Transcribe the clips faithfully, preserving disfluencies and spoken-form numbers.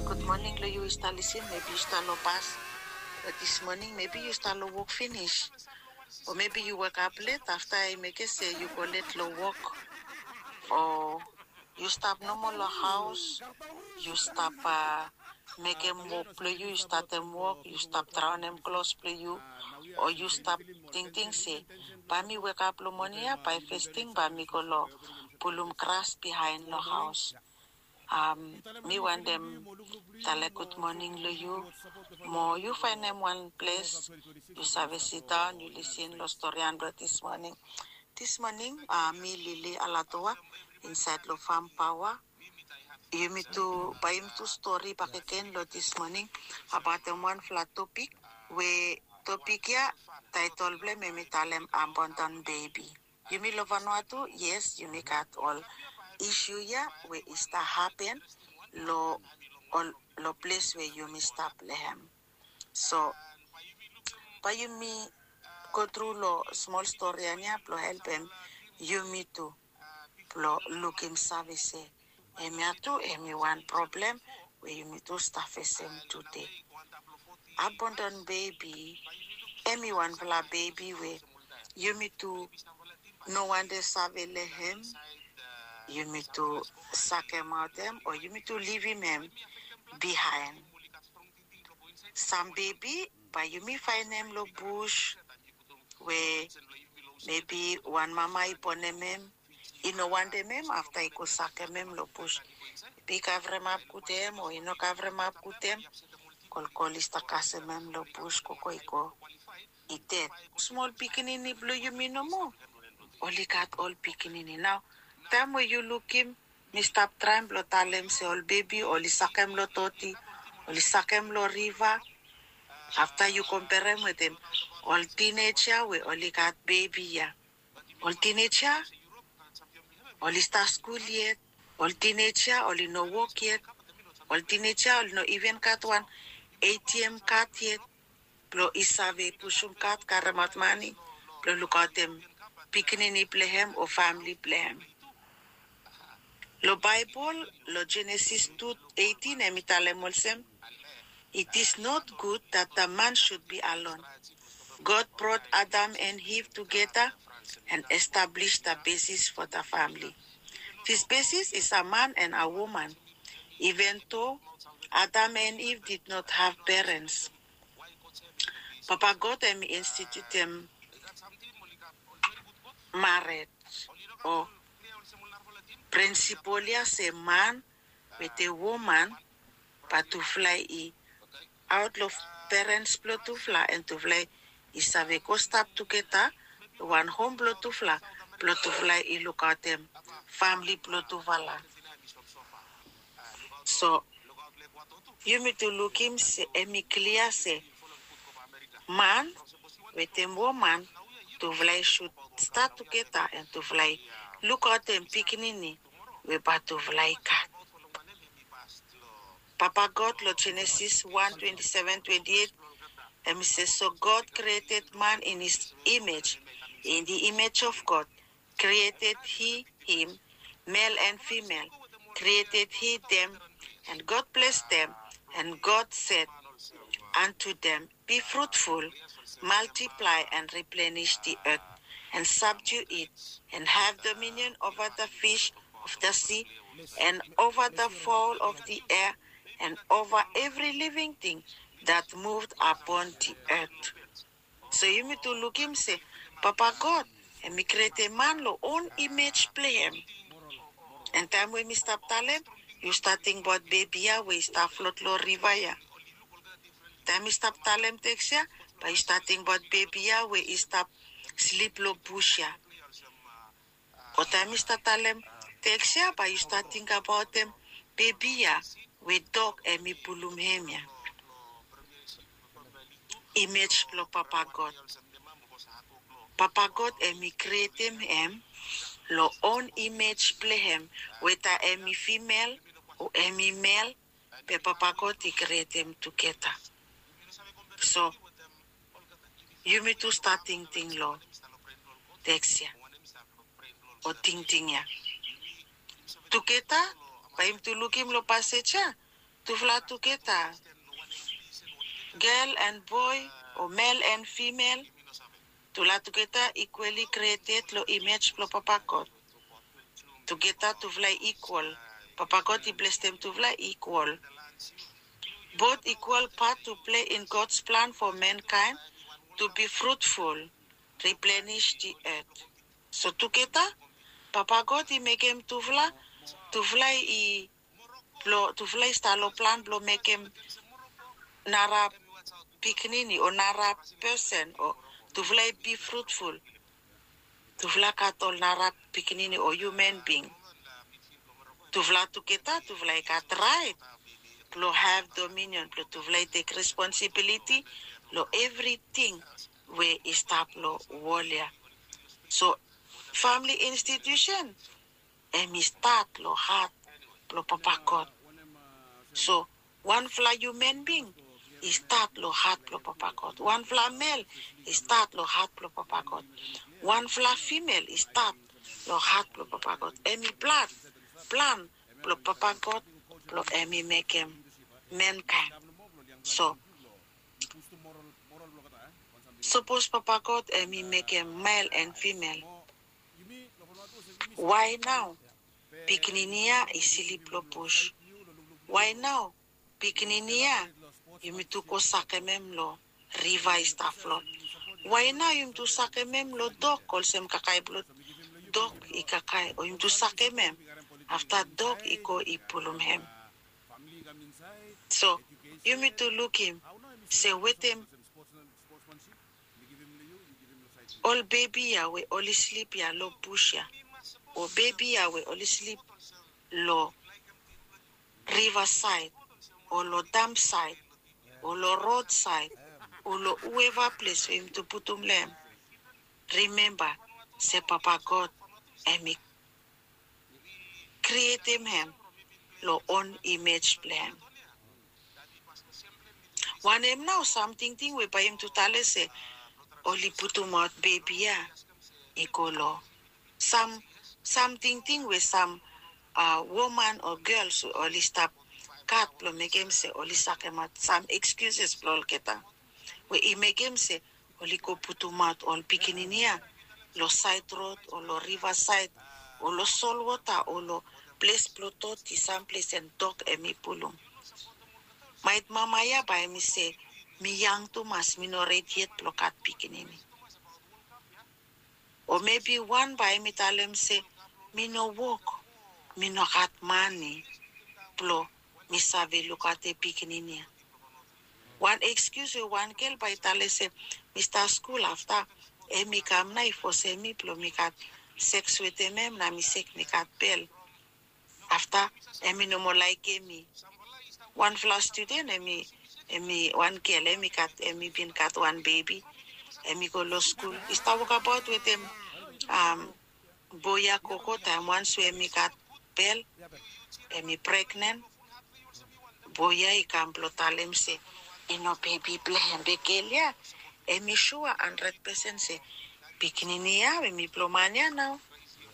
Gud moning long yu i stap lisin. Mebi yu stap long bas, bat dis moning mebi yu stap long wok finis, o mebi yu wekap let afta i mekem se yu go let long wok, o yu stap nomo long haos, yu stap mekem wok blong yu, yu statem wok, yu stap draonem klos blong yu, o yu stap tingting se bae mi wekap long moning ya, bae fes ting bae mi go long pulum gras bihaen long haos. Mi wantem talem gud moning long yu. Mo yu faenem wan ples yu save sidaon yu lisin long storian blong dis moning. Dis moning mi Lili Alatoa insaed long Fam Paoa. Yumi tu, bae yumi tu stori bakegen long dis moning abaotem wanfala topik we topik ya taetol blong hem hemi talem abandon bebi. Yumi long Vanuatu, yes, yumi gat ol isu ya we i stap hapen long ol, long ples we yumi stap long hem. So bae yumi go tru long smol storian ya blong helpem yumi tu blong lukim save se hemia tu hemi wan problem we yumi tu stap fesem tude. Abandon bebi hemi wanfala bebi we yumi tu no wantem save long hem. Yumi tu sakemaot hem o yumi tu livim hem bihaen. Sam bebi bae yumi faenem long bus we mebi wan mama i bonem hem, i no wantem hem, afta i go sakem hem long bus. Mebi i kavremap gud hem o i no kavremap gud hem, kolkol i stap kasem hem long bus, gogo i go, i ded. Smol pikinini blong yumi nomo oli gat ol pikinini. Nao taem we yu lukim, mi stap traem blong talem se ol bebi oli sakem long doti, oli sakem long riva. Afta yu komperem wetem ol tineja we oli gat bebi ya. Ol tineja oli stap skul yet, ol tineja oli no wok yet, ol tineja oli no iven gat wan ATM kad yet blong i save pusum kad karemaot mane blong lukaotem pikinini blong hem o famle blong hem. Long Baebol, long Jenesis tu eitin, hemi talem olsem, "It is not good that the man should be alone. God brought Adam and Eve together and established the basis for the family. This basis is a man and a woman, even though Adam and Eve did not have parents." Papa God hemi institutem mared o prinsipol ya se man wetem woman bae tufala i aot long perens blong tufala, and tufala i save go stap tugeta long wan hom blong tufala, blong tufala i lukaotem famle blong tufala. So yumi tu lukim se hemi klia se man wetem woman, tufala i sud stat tugeta and tufala i lukaotem pikinini we bae tufala i gat. Papa God long Genesis one twenty-seven, twenty-eight, hemi se, "So God created man in his image. In the image of God created he him, male and female created he them, and God blessed them, and God said unto them, Be fruitful, multiply and replenish the earth, and subdue it, and have dominion over the fish of the sea, and over the fowl of the air, and over every living thing that moved upon the earth." So yumi tu lukim se Papa God hemi krietem man long own imej blong hem. And taem we mi stap talem, yu stap tingbaot bebi ya we i stap flot long riva ya. Taem mi stap talem teks ya, bae yu stap tingbaot bebi ya we i stap slip long bus ya. O taem mi stap talem teks ya, bae yu stap tingbaot bebi ya we dog hemi pulum hem ya. Imej blong Papa God. Papa God hemi krietem hem long own imej blong hem, weta hemi fimel o hemi mel, be Papa God i krietem tugeta. So yumi tu stap tingting long teks ya o tingting ya tugeta. Bae yumi tu lukim long pasej ya, Tufala tugeta, gel and boe o mel and fimel, tufala tugeta ikwali krieted long imej blong Papa God. Tugeta tufala i ikwal. Papa God i blesem tufala ikwal. Bot ikwal pat tu plei in God's plan fo menkaen tu bi frutful, riplenish di et. So tugeta Papa God i mekem tufala, tufala i blong tufala i stap long plan blong mekem nara pikinini o nara pesen o tufala i bi frutful. Tufala gat ol nara pikinini o hiuman bing. Tufala tugeta tufala i gat raet blong hav dominion blong tufala i tek responsibiliti long evriting we i stap long wol ya. So famili institusen hem i stat long hat blong Papa God. So wanfala hiuman bing i stat long hat blong Papa God. Wanfala mel i stat long hat blong Papa God. Wanfala fimel i stat long hat blong Papa God. Hem i plan, plan blong Papa God blong hem i mekem menkaen. So sapos Papa God hem i mekem mel and fimel, wae nao pikinini ya i slip long bus? Wae nao pikinini ya yumi tu go sakem hem long riva i stap flot? Wae nao yumi tu sakem hem long dok olsem kakae blong dok i kakae o yumi tu sakem hem afta dok i go i pulum hem? So yumi tu lukim se wetem ol bebi ya we oli slip ya long bus ya o bebi ya we oli slip long rivasaed o long dampsaed o long rodsaed o long hueva ples we yumi tu putum long hem, rimemba se Papa God hem i krietem hem long on imej blong hem. Wanem nao sam tingting we bae yumi tu talem se oli putumaot bebi ya i go long sam, sam tingting we sam woman o gels we oli stap gat blong mekem se oli sakemaot sam ekskiuses blong olgeta we i mekem se oli go putumaot ol pikinini ya long saed rod o long rivasaed o long solwota o long ples blong doti, sam ples and dok hem i pulum. Maet mama ya bae hem i se, mi yang tumas, mi no redi yet blong gat pikinini. O mebi wan bae hem i talem se, mi no wok, mi no gat mane blong mi save lukaotem pikinini ya. Wan ekskius we wan gel bae i talem se, mi stap skul afta hem i kam nao i fosem mi blong mi gat seks wetem hem nao mi sek mi gat bel. Afta hem i no moa laekem mi. Wanfala studen hem i, hem i wan gel hem i gat, hem i bin gat wan bebi. Hem i go long skul, i stap wokabaot wetem boe ya gogo taem wans we hem i gat bel, hem i pregnen. Boe ya i kam blong talem se i no bebi blong hem. Be gel ya hem i sua handred pesen se pikinini ya we mi blong man ya nao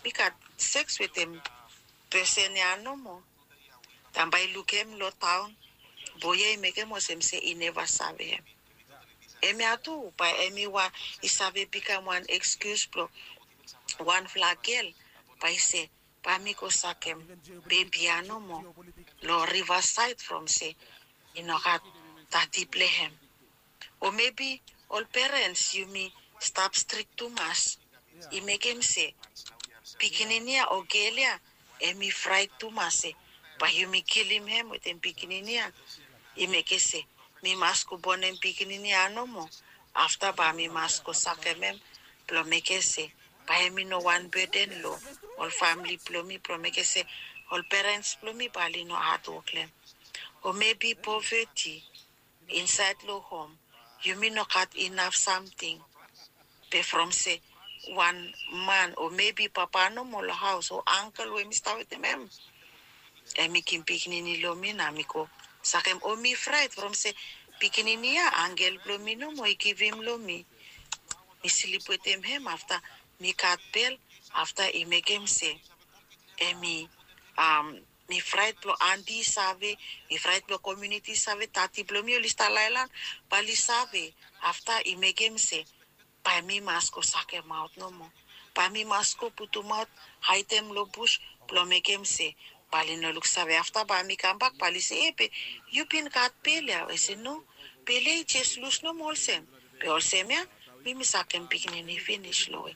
mi gat seks wetem pesen ya nomo. Taem bae i lukim long taon, boe ya i mekem olsem se i neva save hem. Hemia tu bae hemi wan i save bikam wan ekskius blong wanfala gel bae i se bae mi go sakem bebi ya nomo long rivasaed from se i no gat dadi blong hem. O mebi ol perens yumi stap strik tumas i mekem se pikinini ya o gel ya hemi fraet tumas se bae yumi kilim hem wetem pikinini ya. I mekem se mi mas go bonem pikinini ya nomo afta bae mi mas go sakem hem blong mekem se bae hemi no wan beden long ol famle blong mi blong mekem se ol perens blong mi bae oli no hadwok long hem. O mebi poveti insaed long hom yumi no gat inaf samting. Be from se wan man o mebi papa nomo long haos o angkel we mi stap wetem hem, hemi givim pikinini long mi nao mi go sakem o mi fraet from se pikinini ya angkel blong mi nomo i givim long mi. Mi slip wetem hem afta mi gat bel afta i mekem se hemi Mi fraet blong anti i save, mi fraet blong komiuniti i save, tati blong mi oli stap laelan, bae oli save. Afta i mekem se bae mi mas go sakemaot nomo. Bae mi mas go putumaot, haedem long bus blong mekem se bae oli no luksave. Afta bae mi kambak bae oli se, e, be yu bin gat bel ya? I se, no, bel ya i jes lus nomo olsem. Be olsem ya mi mi sakem pikinini finis long we.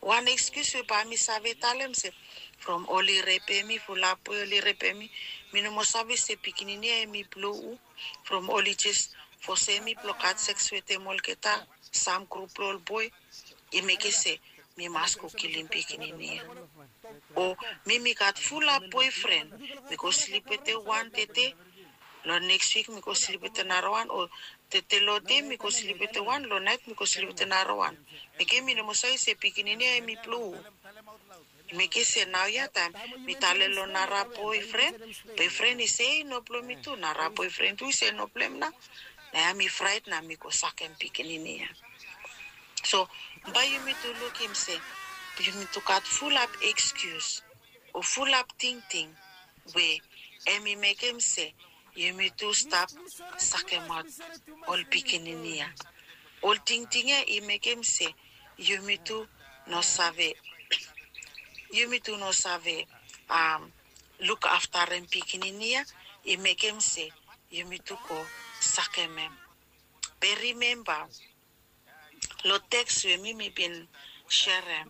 Wan ekskius we bae mi save talem se from oli repem mi, fulap we oli repem mi, mi no moa save se pikinini ya hemi blong hu. From oli jes fosem mi blong gat seks wetem olgeta, sam grup blong ol boe, i mekem se mi mas go kilim pikinini ya. O mi mi gat fulap boefren, mi go slip wetem wan tede, long neks wik mi go slip wetem narawan, o tede long dei mi go slip wetem wan, long naet mi go slip wetem narawan. Mekem mi no moa save se pikinini ya hemi blong hu. I mekem se naoia taem mi talem long nara boefren, boefren i se i no blong mi tu, nara boefren tu i se i no blong hem nao. Naoia mi fraet nao mi go sakem pikinini ya. So bae yumitu lukim se yumitu gat fulap ekskius o fulap tingting we hemi mekem se yumitu stap sakemaot ol pikinini ya. Ol tingting ya i mekem se yumitu no save, yumitu no save lukaftarem pikinini ya, i mekem se yumitu go sakem hem. Be rimemba long teks we mi mi bin serem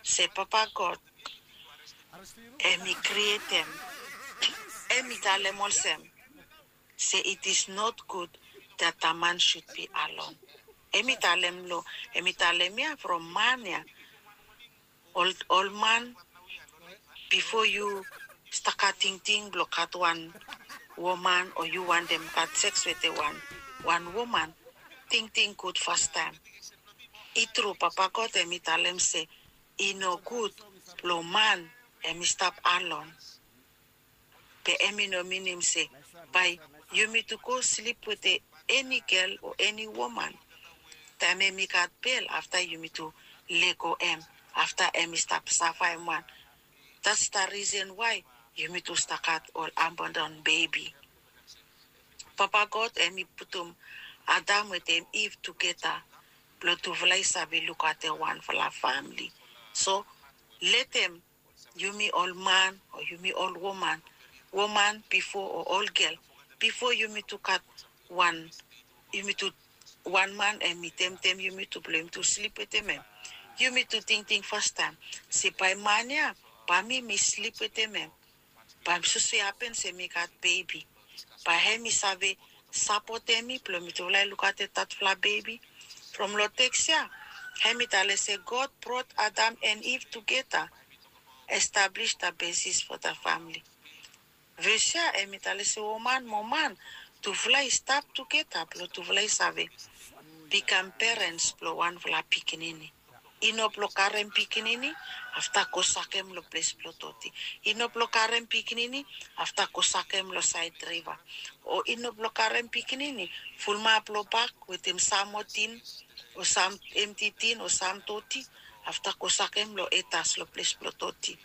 se Papa God hemi krietem, hemi talem olsem se it is not good that a man should be alone. Hemi talem long, hemi talem ya from man ya. Ol, ol man, bifo yu stap gat tingting blong gat wan woman o yu wantem gat seks wetem wan, wan woman, tingting gud fastaem. I tru, Papa God hemi talem se i no gud blong man hemi stap alon. Be hemi no minim se bae yumitu go slip wetem eni gel o eni woman. Taem hemi gat bel, afta yumitu lego hem, afta hemi stap savaem wan. That's the reason why yumitu stap gat ol abandon bebi. Papa God hemi putum Adam wetem Iv tugeta blong tufala i save lukaotem wanfala famili. So letem yumi ol man o yumi ol woman, woman bifo o ol gel, bifo yumitu gat wan, yumitu, wan man hemi temtem yumitu blong yumitu slip wetem hem, yumitu tingting fastaem se bae man ya, bae mi mi slip wetem hem, bae sose hapen se mi gat bebi, bae hemi save sapotem mi blong mitufala i lukaotem tatufala bebi. From long teks ya hemi talem se God brought Adam and Eve together, establish the basis for the family. Ves ya hemi talem se woman mo man, tufala i stap tugeta blong tufala i save bikam perens blong wanfala pikinini. I no blong karem pikinini afta go sakem long ples blong doti. I no blong karem pikinini afta go sakem long saed riva. O i no blong karem pikinini fulumap long bak wetem sam moa tin o sam emti tin o sam doti, afta go sakem long etas long ples blong doti,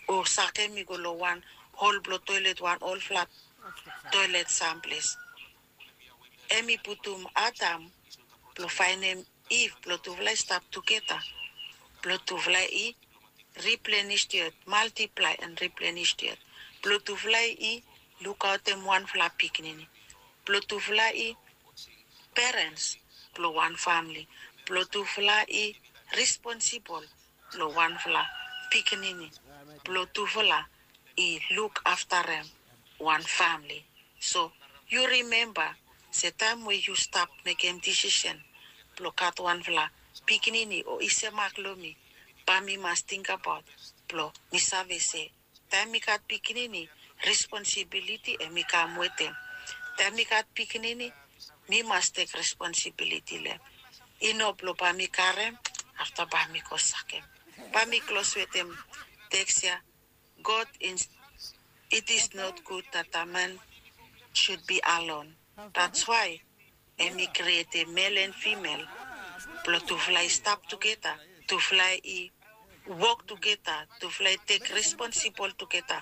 o sakem i go long wan hol blong toelet, wan olfala toelet samples. Hemi putum Adam blong faenem Iv blong tufala i stap tugeta, blong tufala i replenish the earth, multiply and replenish the earth, blong tufala i lukaotem wanfala pikinini, blong tufala i perens blong wan famili, blong tufala i responsibol long wanfala pikinini, blong tufala i lukaftarem wan famili. So yu rimemba se taem we yu stap mekem disisen blong gat wanfala pikinini o i semak long mi, bae mi mas tingbaot blong mi save se taem mi gat pikinini, responsibiliti hemi kam wetem. Taem mi gat pikinini, mi mas tek responsibiliti long hem. I no blong bae mi karem afta bae mi go sakem. Bae mi klos wetem teks ya. God in, it is not good that a man should be alone. That's why hemi krietem mel and fimel blong tufala i stap tugeta, tufala i wok tugeta, tufala i tek responsibol tugeta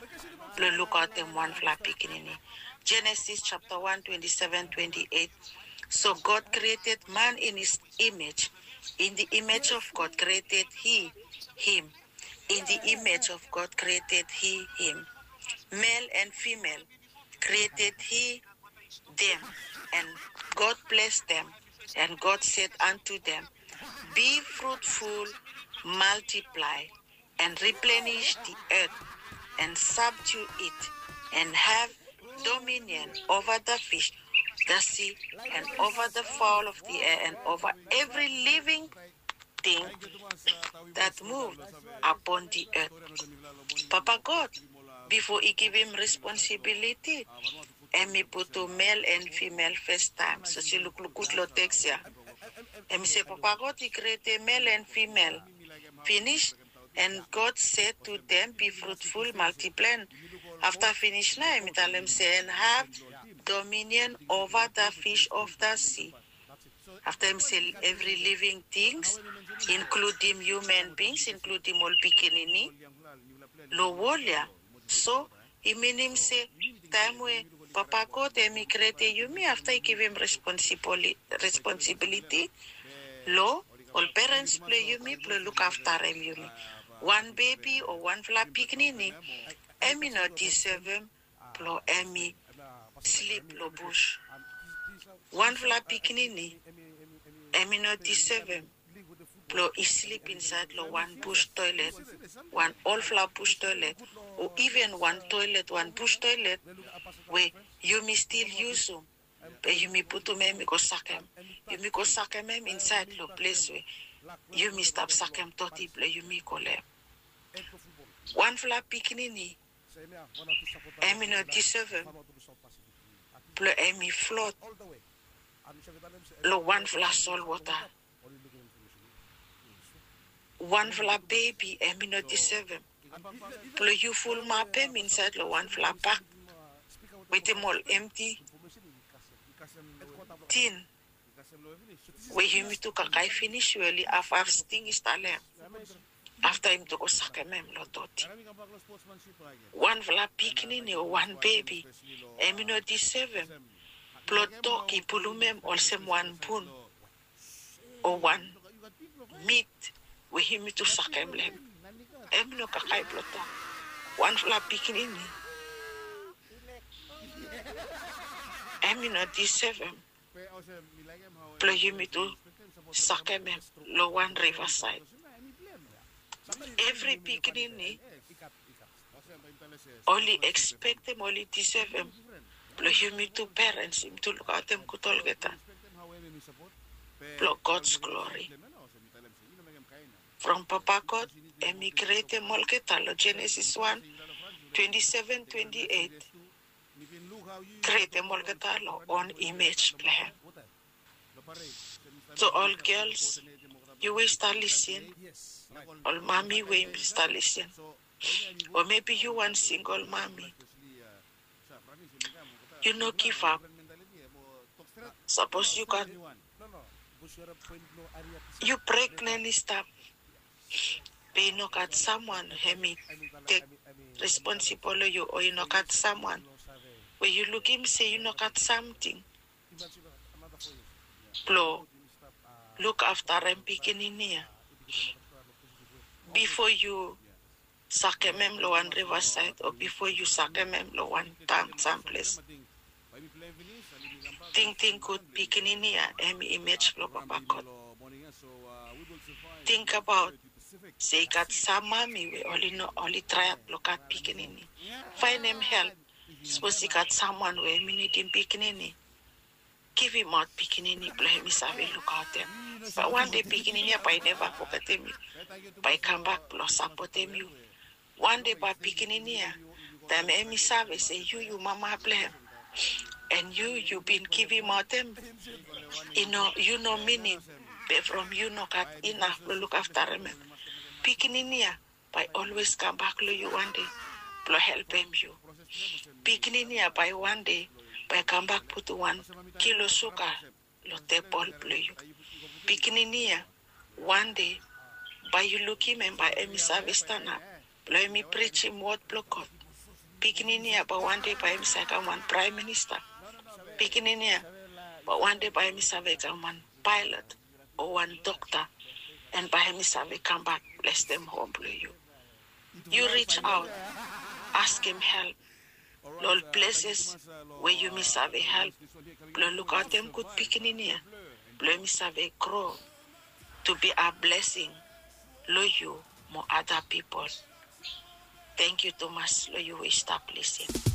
blong lukaotem wanfala pikinini. Genesis chapter one, twenty-seven, twenty-eight. So God created man in his image. In the image of God created he him. In the image of God created he him. Male and female created he them, and God blessed them, and God said unto them, be fruitful, multiply, and replenish the earth, and subdue it, and have dominion over the fish, the sea, and over the fowl of the air, and over every living thing that move upon the earth. Papa God, bifo i givim responsibility, em i putum male and female first time. So si lukluk gud long teks ya. Em i se Papa God i create male and female. Finish, and God said to them, be fruitful, multiply. After finish na em i talem se, and have dominion over the fish of the sea. After em se every living things, including human beings, including ol pikinini long wol ya. So i minim se taem we Papa God em i create yumi, after i givim responsibility long ol parents blong yumi blong lukaftarem yumi. Wan bebi o wanfala pikinini em i no deservem blong em i slip long bus. Wanfala pikinini em i no deservem blong i slip insaed long wan bus toilet, wan olfala bus toilet, o iven wan toilet, wan bus toilet we yumi stil yusum, be yumi putum em i go sakem, yumi go sakem em insaed long ples we yumi stap sakem doti blong yumi go long em. Wanfala pikinini em i no deservem blong em i flot long wanfala solwota. Wanfala bebi em i no deservem blong yu fulumapem insaed long wanfala bak wetem ol emti tin we yumi tu kakae finis we oli hafhaf sting i stap long em. Afta yumi tu go sakem em long doti. Wanfala pikinini o wan bebi em i no deservem blong dog i pulum em olsem wan bun o wan mit we yumi tu sakem long em. Em i no kakae blong dog. Wanfala pikinini em i no deservem blong yumi tu sakem em long wan rivasaed. Evri pikinini oli ekspektem, oli deservem blong yumi tu parents yumi tu lukaotem gud olgeta blong God's glory. From Papa God em i createm olgeta long Genesis one, twenty-seven, twenty-eight. Createm olgeta long own image blong hem. So ol gels, yu we i stap lisin, ol mami we i stap lisin, o maybe yu wan singol mami, yu no givap. Sapos yu gat, yu pregnen i stap, be i no gat samwan hem i tek responsibol long yu, o i no gat samwan we yu lukim se yu no gat samting blong lukaftarem pikinini ya bifo yu sakem hem long wan rivasaed o bifo yu sakem hem long wan taon samples. Tingting gud, pikinini ya hem i imej blong Papa God. Tingbaot se i gat sam mami we oli no, oli traem blong gat pikinini. Faenem help. Sapos i gat samwan we hem i nidim pikinini, givimaot pikinini blong hem i save lukaotem. Bae wande pikinini ya bae i neva fogetem yu, bae i kambak blong sapotem yu. Wande bae pikinini ya, taem hem i save se yu, yu mama blong hem, and yu, yu bin givimaot hem, i no, yu no minim, be from yu no gat inaf blong lukaftarem hem, pikinini ya bae i olwes kambak long yu wande blong helpem yu. Pikinini ya bae wande bae i kambak putum wan kilo suga long tebol blong yu. Pikinini ya wande Bae yu lukim hem bae hem i save stanap blong hem i prijim wod blong God. Pikinini ya bae wande bae hem i save kam wan praem minista. Pikinini ya bae wande bae hem i save kam wan paelot o wan dokta. An bae hem i save kambak blestem hom blong yu. Yu rijaot, askem help long ol pleses we yumi save help blong lukaotem gud pikinini ya blong hem i save gro tu bi a blesing long yu mo ada pipol. Tengkiu tumas long yu we i stap lisin.